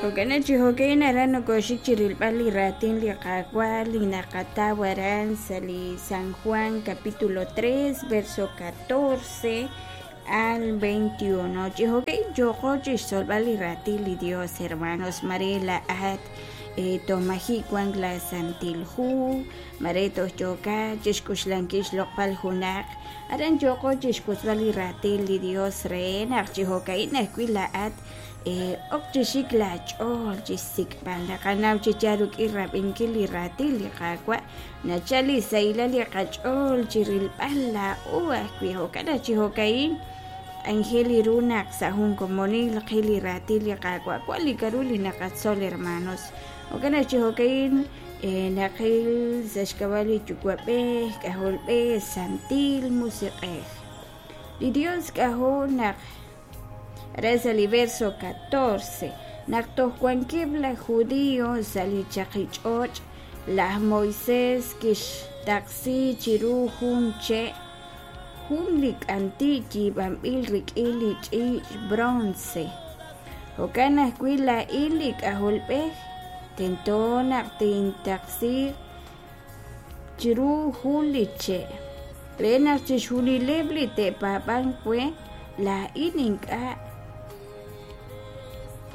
Jo'kan chi jo'ka'in aran nokoxik chi rilb'al li raatin li Qaawa' li naqataw aran sa' li San Juan capítulo 3 verso 14 al 21. Chi jo'ka'in yooqo chixtzolb'al li raatin li Dios, hermanos. Mare laa'at toj maji' wank la Santil Hu, mare toj yookat chixk'uxlankil xloq'b'al junaq, aran yooqo chixwotzb'al li raatin li Dios re naq chi jo'ka'in ajwi' laa'at ok chi xik laach'ool chi xsik'b'al. Naqanaw chi yaal rik'in rab'inkil li raatin li Qaawa' nachal li sahilal li qach'ool chi rilb'al laa'o ajwi'. Jo'kan naq chi jo'ka'in k'anjel li ru naq sa' jun komonil qil li raatin li Qaawa', wan li k'aru li naqatzol, hermanos. Jo'kan naq chi jo'ka'in naqil sa' xk'ab'a' li Yuwa'b'ej, K'ajolb'ej, Santil Musiq'ej. Li Dios k'ajo' naq re sa' li verso 14, naq toj wankeb' laj Judío sa' li chaqi ch'och', laj Moisés kixtaqsi chiru jun che' jun li k'anti' yiib'anb'il rik'in li ch'iich' bronce. Jo'kan ajwi' laa'in li K'ajolb'ej tento naq tintaqsiiq chiru jun li che', re naq chixjunileb' li te'paab'anq we laa'in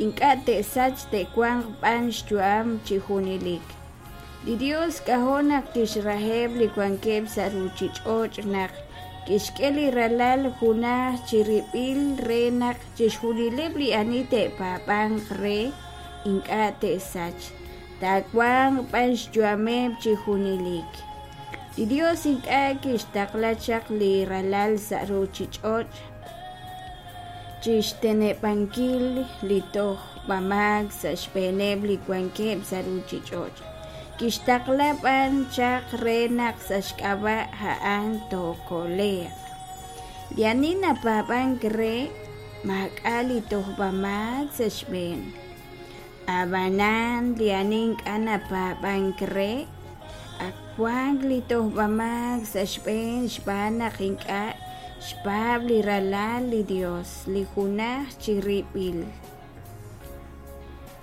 ink'a' te'sachq te'wanq b'an xyu'am chi junelik. Li Dios k'ajo' naq kixraheb' li wankeb' sa' ruuchich'och' naq kixk'e li Ralal junaj chirib'il re naq chixjunileb' li ani te'paab'anq re ink'a' te'sachq, taawanq b'an xyu'ameb' chi junelik. Li Dios ink'a' kixtaqla chaq li Ralal sa' ruuchich'och' chi xteneb'ankil li tojb'amaak sa' xb'eeneb' li wankeb' sa' ruuchich'och', kixtaqla b'an chaq re naq sa' xk'ab'a' a'an tookole'q. Li ani napaab'ank re, maak'a' li tojb'amaak sa' xb'een. Ab'anan li ani ink'a' napaab'ank re, ak wank li tojb'amaak sa' xb'een xb'aan naq ink'a' xpaab' li Ralal li Yos, li junaj chirib'il.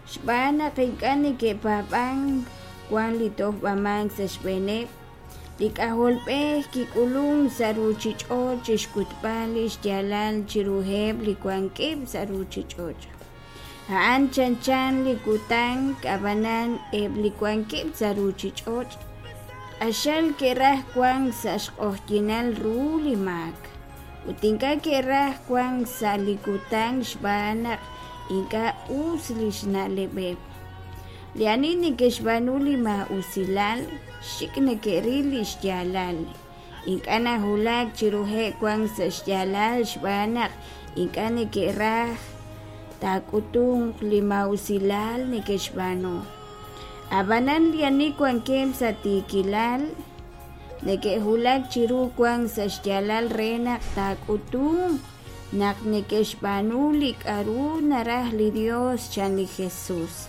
Xb'aan naq ink'a' neke'paab'ank wank li tojb'amaak sa' xb'eeneb', li K'ajolb'ej kik'ulunk sa' ruuchich'och' chi xk'utb'al li xyaalal chiruheb' li wankeb' sa' ruuchich'och'. A'an chanchan li kutan, ab'anan eb' li wankeb' sa' ruuchich'och' q'axal ke'raj wank sa' xq'oqyinal ru li maak, ut ink'a' ke'raj wank sa' li kutan xb'aan naq ink'a' us li xna'leb'eb'. Li ani neke'xb'aanu li maa'usilal xik' neke'ril li xyaalal, ink'a' nawulak chiruheb' wank sa' xyaalal xb'aan naq ink'a' neke'raj taak'utunq li maa'usilal neke'xb'aanu. Ab'anan li ani wankeb' sa' tiikilal neke'wulak chiru wank sa' xyaalal re naq taak'utunq naq neke'xb'aanu li k'aru naraj li Yos, chan li Jesús.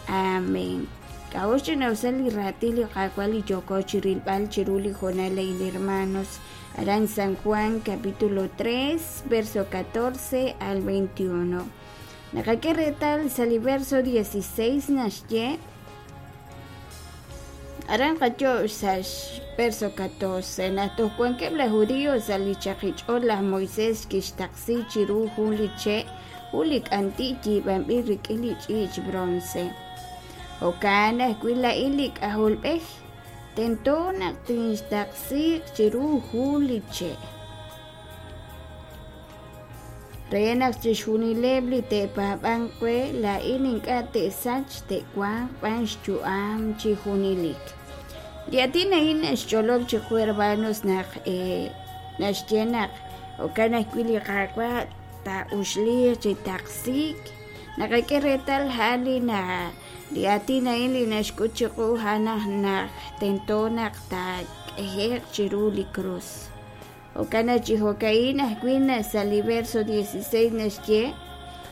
Amén. K'a'ut xch'ina'usal li raatin li Qaawa' li yooko chi rilb'al chiru li hoonal a'in, hermanos? Aran San Juan capítulo 3, verso 14 al 21. Naqak'e reetal sa' li verso 16 naxye aran qayo' sa' verso 14 naq toj wankeb' laj Judío sa' li chaqich'och' laj Moisés kixtaqsi chiru jun li che' jun li k'anti' yiib'anb'il rik'in li ch'iich' bronce. Jo'kan ajwi' laa'in li K'ajolb'ej tento naq tinxtaqsiiq chiru jun li che', re naq chixjunileb' li te'paab'anq we laa'in ink'a' te'sachq, te'wanq b'an xyu'am chi junelik. Li aatin a'in naxch'olob' chiqu, hermanos, naq naxye naq jo'kan ajwi' li Qaawa' taa'uxliiq chi taqsiik. Naqak'e reetal a'an li na li aatin a'in li naxk'ut chiqu a'an naq tento naq taak'ehe'q chiru li krus. Jo'kan naq chi jo'ka'in ajwi' sa' li verso 16 naxye: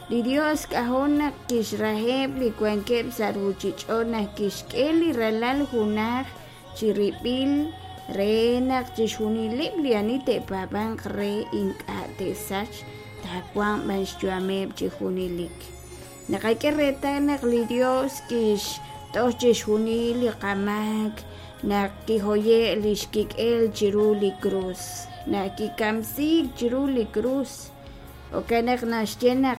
Li Yos k'ajo' naq kixraheb' li wankeb' sa' ruuchich'och' naq kixk'e li Ralal junaj chirib'il re naq chixjunileb' li ani te'paab'anq re ink'a' te'sachq, taawanq b'an xyu'ameb' chi junelik. Naqak'e reetal naq li Dios kixtoj chixjunil li qamaak naq kihoye' li xkik'el chiru li krus, naq kikamsiik chiru li krus. Jo'kan naq naxye naq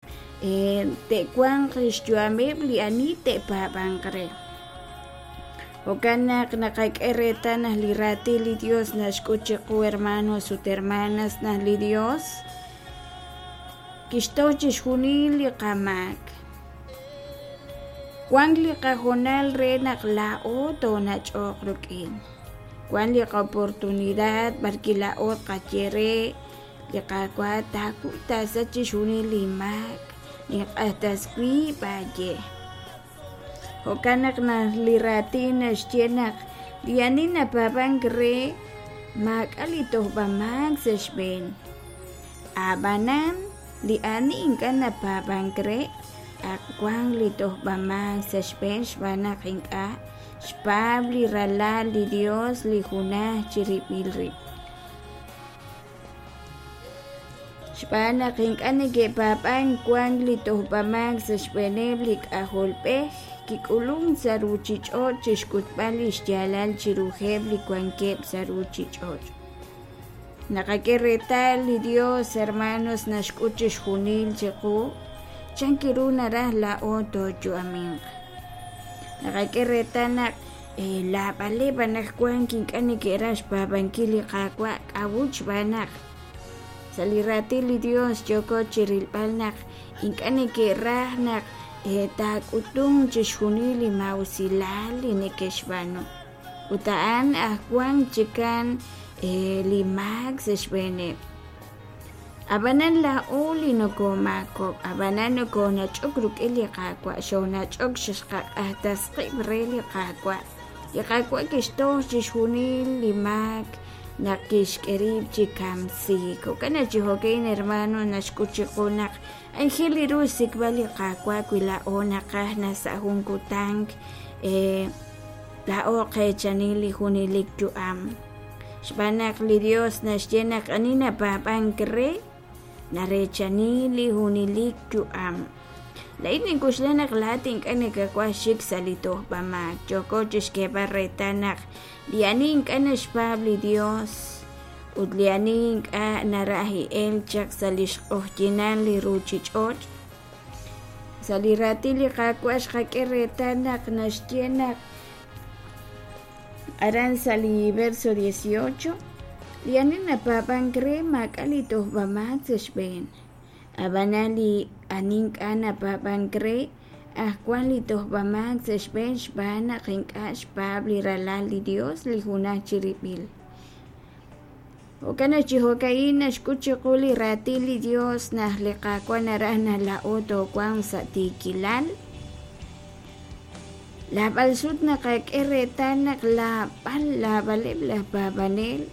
te'wanq li xyu'ameb' li ani te'paab'anq re. Jo'kan naq naqak'e reetal naq li raatin li Dios naxk'ut chiqu hermanos ut hermanas naq li Dios kixtoj chixjunil li qamaak. Wank li qahoonal re naq laa'o toonach'oq rik'in. Wank li qoportunidad b'arwi' laa'o tqaye re li Qaawa' taakuy taasach chixjunil li maak, ninq'ajtas wiib' aaye. Jo'kan naq li raatin naxye naq li ani napaab'ank re maak'a' li tojb'amaak sa' xb'een. A'b'anan, li ani ink'a' napaab'ank re, ak wank li tojb'amaak sa' xb'een xb'aan naq ink'a' xpaab' li Ralal li Dios li junaj chirib'il rib'. Xb'aan naq ink'a' neke'paab'ank wank li tojb'amaak sa' xb'eeneb' li K'ajolb'ej kik'ulunk sa' ruuchich'och' chi xk'utb'al li xyaalal chiruheb' li wankeb' sa' ruuchich'och'. Naqak'e reetal li Dios, hermanos, naxk'ut chixjunil chiqu chan ru naraj laa'o tooyu'aminq. Naqak'e reetal naq Laab'aleb' anaqwan ink'a' neke'raj xpaab'ankil li Qaawa' k'a'ut xb'aan naq sa' li Raatin li Yos yooko chi rilb'al naq ink'a' neke'raj naq taak'utunq chixjunil li maa'usilal li neke'xb'aanu ut a'an aj wank chikan li maak sa' xb'eeneb'. Ab'anan laa'o li nokoomaakob'k, ab'anan nokoonach'ok rik'in li Qaawa', xoonach'ok xqaq'ajtas qib' re li Qaawa'. Li Qaawa' kixtoj chixjunil li maak naq kixk'e rib' chi kamsiik. Jo'kan naq chi jo'ka'in hermano naxk'ut chiqu naq aajel li ru xsik'b'al li Qaawa' wi laa'o naqaj naq sa' jun kutan laa'o qeechani li junelik yu'am. Xb'aan naq li Dios naxye naq ani napaab'ank re, nareechani li junelik yu'am. Laa'in nink'oxla naq laa'at ink'a' nakawaj xik sa' li tojb'amaak. Yooko chixk'eeb'al reetal naq li ani ink'a' naxpaab' li Dios ut li ani ink'a' naraj elk chaq sa' lix q'ojyinal li ruchich'och', sa' li raatin li Qaawa' xqak'e reetal naq naxye naq Aran sa' li verso 18, li ani napaab'ank re maak'a' li tojb'amaak sa' xb'een. Ab'anan li ani ink'a' napaab'ank re, aj wank li tojb'amaak sa' xb'een xb'aan naq ink'a' xpaab' li Ralal li Dios li junaj chirib'il. Jo'kan naq chi jo'ka'in naxk'ut chiqu li raatin li Dios naq li Qaawa' naraj naq laa'o toowanq sa' tiikilal. Naab'al sut naqak'e reetal naq laab'al laab'aleb' laj paab'anel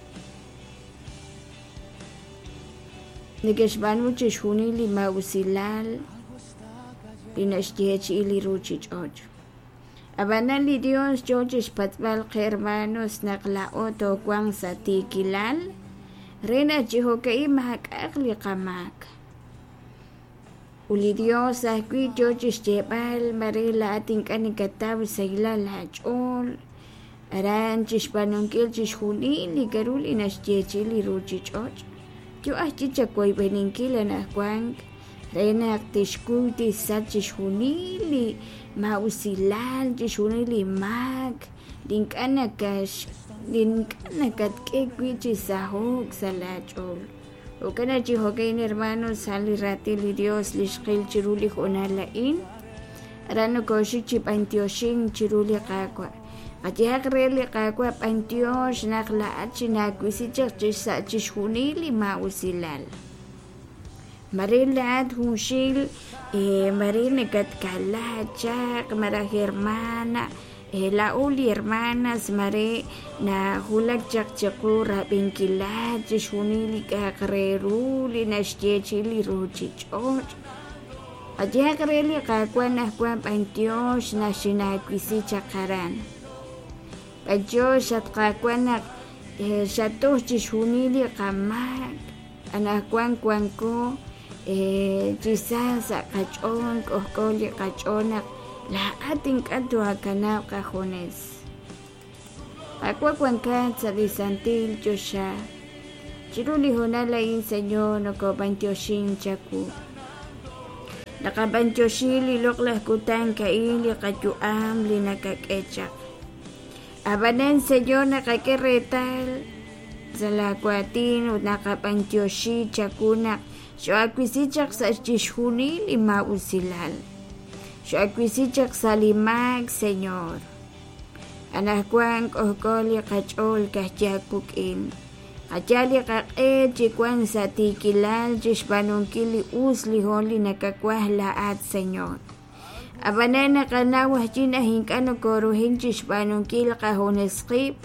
neke'xb'aanu chixjunil li maa'usilal li naxyeechi'i li ruuchich'och'. Ab'anan li Dios yoo chixpatz'b'al qe hermanos naq laa'o toowanq sa' tiikilal re naq chi jo'ka'in maak'a'aq li qamaak. Ut li Dios ajwi' yoo chixyeeb'al mare laa'at ink'a' nakataw xsahilal aach'ool aran chixb'aanunkil chixjunil li k'a'ru li naxyeechi'i li ruchich'och'. Yoo ajwi' chawoyb'eninkil anaqwan re naq tixkuy tixsach chixjunil li maa'usilal, chixjunil li maak li ink'a' nakax li ink'a' nakatk'e wi' chi saho'k sa' laa ch'ool. Jo'kan naq chi jo'ka'in hermanos sa' li raatin li Dios li xqil chiru li hoonal a'in, aran nokooxik chi b'antioxink chiru li Qaawa'. Qayehaq re li Qaawa' b'antiox naq laa'at xinaawisi chaq chi sa' chixjunil li maa'usilal. Mare laa'at junxil mare nakatkala chaq malaj hermana laa'o li hermanas mare nawulak chaq chiqu rab'inkilat chixjunil li k'a'aq re ru li naxyeechi'i li ruchich'och'. Qayehaq re li Qaawa' anaqwan b'antiox naq xinaawisi chaq aran. B'antiox at Qaawa' naq xatoj chixjunil li qamaak. Anaqwan wanko Chi sa sa' qach'ool k'ojk'o li qach'ool naq laa'at ink'a' too'akanab' qajunes. Qaawa' wankat sa' li santil choxa. Chiru li hoonal a'in, Señor, nokob'antioxin chawu. Naqab'antioxi li loq'laj kutan a'in li qayu'am li nakak'e chaq. Ab'anan, Señor, naqak'e reetal sa' laa waatin ut naqab'antioxi chawu naq xoo'awisi chaq sa' chixjunil li maa'usilal. Xoo'awisi chaq sa' li maak, Señor. Anaqwan k'ojk'o li qach'ool ka'ajwi' aawik'in. Qayal li qaq'e chi wank sa' tiikilal chi xb'aanunkil li us li hoon li nakawaj laa'at, Señor. Ab'anan naqanaw ajwi' naq ink'a' nokoruhin chi xb'aanunkil qajunes qib',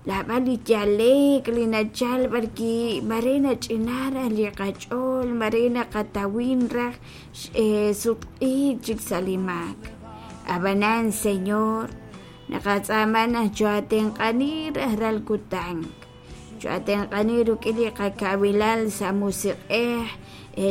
naab'al li yale'k li nachal b'arwi' mare nach'ina raj li qach'ool, mare naqatawin raj sutq'iik chik sa' li maak. Ab'anan, Señor, naqatz'aama naq choo'atenq'ani rajlal kutan, choo'atenq'ani rik'in li qakawilal sa' musiq'ej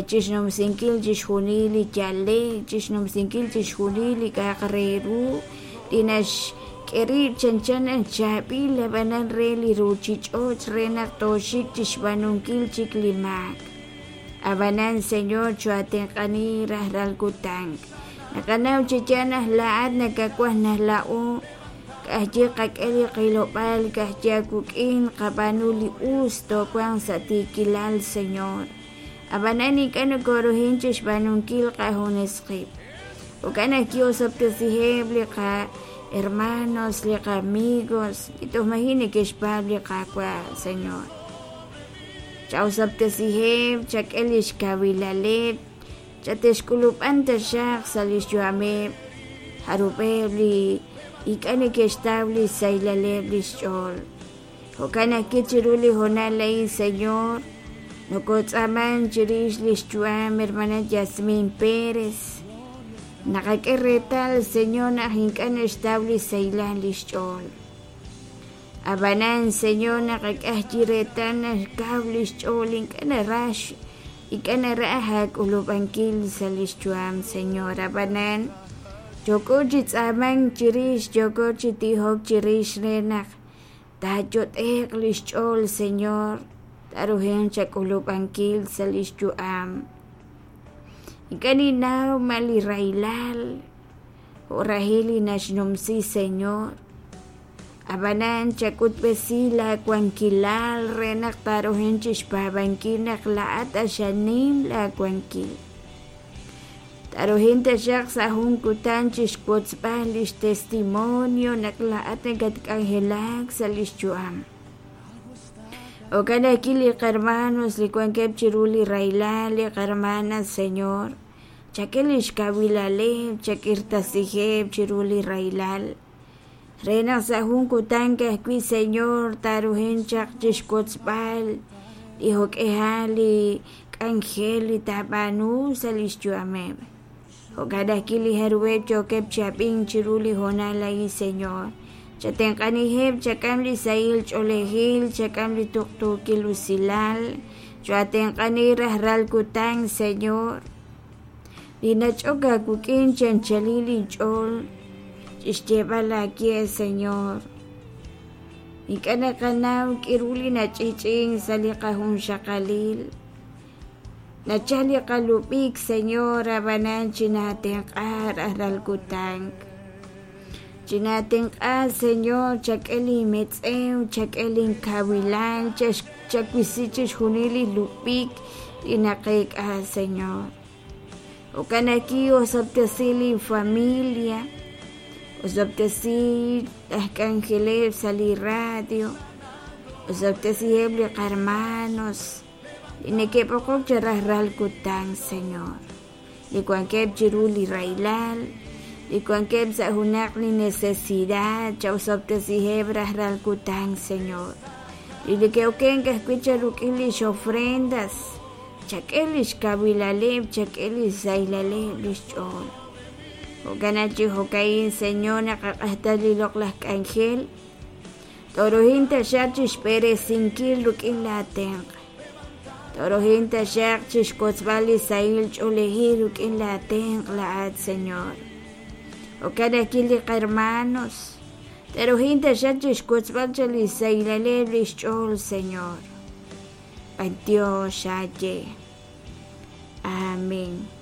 chi xnumsinkil chixjunil li yale'k, chi xnumsinkil chixjunil li k'a'aq re ru li naxk'e rib' chanchan naq chaab'il ab'anan re li ruuchich'och' re naq tooxik chi xb'aanunkil chik li maak. Ab'anan, Señor, choo'atenq'ani rajlal kutan. Naqanaw chi yaal naq laa'at nakawaj naq laa'o ka'ajwi' qak'e li qilob'aal ka'ajwi' aawik'in qab'aanu li us toowanq sa' tiikilal, Señor. Ab'anan ink'a' nokoruhin chi xb'aanunkil qajunes qib'. Jo'kan naq ki'osob'tesiheb' li qahermanos, li qamigos li toj maji' neke'xpaab' li Qaawa', Señor. Cha'osob'tesiheb', chak'e li xkawilaleb', chate'xk'ulub'an taxaq sa' li xyu'ameb' jarub'eb' li ink'a' neke'xtaw li xsahilaleb' li xch'ool. Jo'kan ajwi' chiru li hoonal a'in, Señor, nokotz'aaman chirix lix yu'am hermana Yasmin Pérez. Naqak'e reetal, Señor, naq ink'a' naxtaw li sahilal lix ch'ool. Ab'anan, Señor, naqak'e ajwi' reetal naq kaw lix ch'ool ink'a' naraj ink'a' naraj aak'ulub'ankil sa' lix yu'am, Señor. Ab'anan, yooko chi tz'aamank chirix, yooko chi tijok chirix re naq Taayot'e'q li xch'ool, Señor, taaruhanq chak'ulub'ankil sa' li xyu'am. Ink'a' ninnaw ma li rahilal jo' rahil li naxnumsi, Señor. Ab'anan chak'utb'esi laawankilal re naq taaruhanq chixpaab'ankil naq laa'at q'axal nim laawankil. Taruhin taxaq sa' jun kutan chixwotzb'al lix testimonio naq laa'at nakatk'anjelak sa' lix yu'am. Jo'kan ajwi' li qahermanos li wankeb' chiru li rahilal, li qahermanas, Señor, chak'e lix kawilaleb', chak'irtasiheb' chiru li rahilal, re naq sa' jun kutan ka'ajwi', Señor, taaruhin chaq chixwotzb'al li jo'k'ihal li k'anjel li taab'aanu sa' lix yu'ameb'. Jo'kan ajwi' li jarub'eb' yookeb' chi ab'ink chiru li hoonal a'in, Señor. Chatenq'aniheb', chak'am li sahil ch'oolejil, chak'am li tuqtuukil usilal, cho'atenq'ani rajlal kutan, Señor. Li nach'ok aawik'in chi anchalil inch'ool chixyeeb'al aawe, Señor. Ink'a' naqanaw k'aru li nach'i'ch'i'ink sa' li qajunxaqalil. Nachal li qalub'ik, Señor, ab'anan chinaatenq'a rajlal kutan. Chinaatenq'a, Señor, chak'e linmetz'ew, chak'e linkawilal, chawisi chixjunil li lub'ik li naqeek'a, Señor. Jo'kan ajwi' osob'tesi linfamilia, osob'tesi laj k'anjeleb' sa' li radio, osob'tesiheb' li qarmanos li neke'b'oqok chi rajlal kutan, Señor, li wankeb' chiru li rahilal, li wankeb' sa' junaq li necesidad, cha'osob'tesiheb' rajlal kutan, Señor. Li neke'okenk ajwi' charuk'in lix ofrendas, Chak'e li xkawilaleb', chak'e li xsahilaleb' li xch'ool. Jo'kan naq chi jo'ka'in, Señor, naqaq'axtas li loq'laj k'anjel, tooruhin taxaq chi xb'eresinkil rik'in laatenq'. Tooruhin taxaq chixwotzb'al li sahil ch'oolejil rik'in laa tenq' laa'at, Señor. Jo'kan ajwi' li qahermanos, te'ruhin taxaq chixwotzb'al chaq li sahilaleb' lix ch'ool, Señor. B'antiox aaye. Amén.